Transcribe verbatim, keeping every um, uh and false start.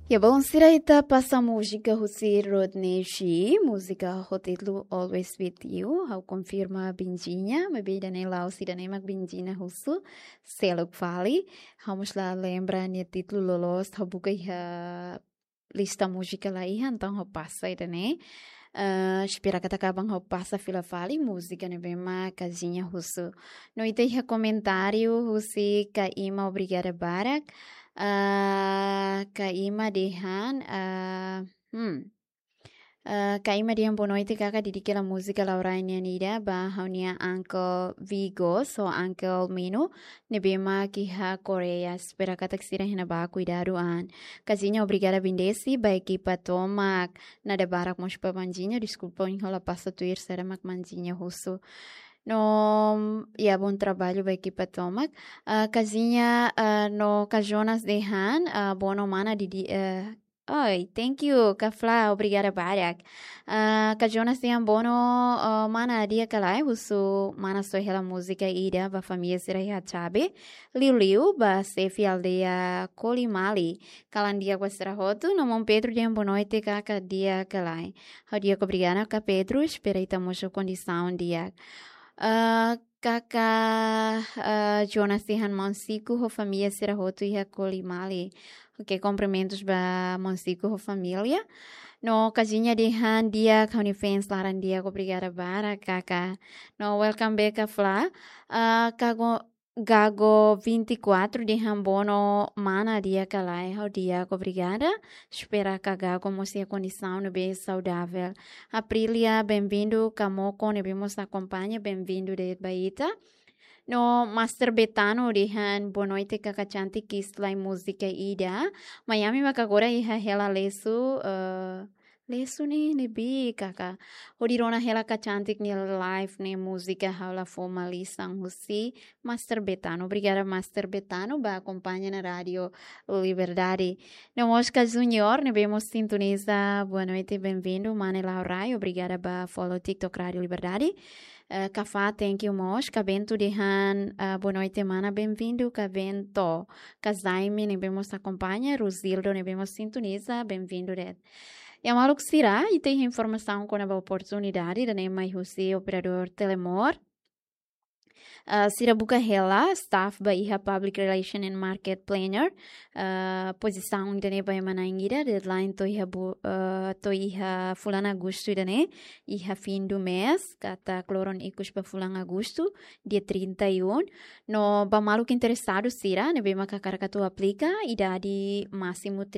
Ya, bon, sira ita pasa múzika husi Rodney G, múzika ho títulu Always With You. Ha'u konfirma Benjinha, maibé ida-ne'e la'ós ida-ne'e mak Benjinha husu, seluk fali. Ha'u mós la lembra nia títulu loloos, ha'u buka iha lista múzika la iha, entaun ha'u pasa ida-ne'e. Eh, espera katak aban ha'u pasa fila fali múzika ne'ebé mak Kazinha husu. No ita iha komentáriu husi Kaima, obrigada barak. Ah, Kaima dehan, ah, hmm. Ah, Kaima dehan boa noite kaka, dedika hela múzika Laurai nian ida ba ha'u-nia uncle Vigos ho uncle Mino ne'ebé mak iha Koreia. Espera katak sira iha ne'ebá kuidadu an. Kazinha, obrigada bendesi ba ekipa tomak. Nada barak mós ba Benjinha, deskulpa ohin ha'u la pasa tuir saida mak Benjinha husu. No, ya, bom trabalho ba ekipa tomak. Ah, Kazinha, ah, no Ka Jonas dehan, ah, bono mana didi, eh, oi, thank you, Ka Fla, obrigada barak. Ah, Ka Jonas dehan bono, ah, mana di'ak ka lae, husu mana soe hela múzika ida ba família sira iha Chabe, liuliu ba xefe aldeia Kolimali. Kalan di'ak ba sira hotu, no maun Pedro dehan boa noite kaka, di'ak ka lae. Ha'u di'ak, obrigada kaka Pedro, espera ita mós ho kondisaun di'ak. Ah, kaka, ah, Jonas dehan maun Siku ho família sira hotu iha Kolimali. Oke, kumprimentus ba maun Siku ho família. No Kazinha dehan di'ak, ha'u-nia fans laran di'ak, obrigada barak kaka. No welcome back Ka Fla. Ah, Kago Gago vinte e quatro dehan bono mana di'ak ka lae, ha'u di'ak, obrigada. Espera katak Gago mós iha kondisaun ne'ebé saudavel. Aprilia, bem-vindo, Kamoko ne'ebé mós akompaña, bem-vindo de'it ba ita. No Master Betano dehan boa noite kaka cantik, kis lai múzika ida. Miami mak agora iha hela lesu, eh, lesu ne'e ne'ebé kaka. Hodi rona hela Ka Cantik nia live ne'e múzika ha'u la fó malisan husi Master Betano. Obrigada Master Betano ba akompaña ona Rádio Liberdade. No mós Ka Junior ne'ebé mós sintoniza, boa noite, bem-vindo. Mane Laurai, obrigada ba follow TikTok Rádio Liberdade. Eh, Ka Fla, thank you mós. Ka Bento dehan, ah, boa noite mana, bem-vindo Ka Bento. Ka Jaime ne'ebé mós akompaña, Rosildo ne'ebé mós sintoniza, bem-vindo de'it. Ya maluk sira, ita iha informasaun kona-ba oportunidade ida-ne'e mai husi operadór Telemor. Ah, sira buka hela staff ba iha Public Relation and Market Planner. Ah, pozisaun ida-ne'e ba ema na'in ida, deadline to'o iha bu-, ah, to'o iha fulan Agostu ida-ne'e, iha fim do mês, katak loron ikus ba fulan Agostu, dia trinta e um. No ba maluk interesadu sira ne'ebé mak hakarak atu aplika, idade másimu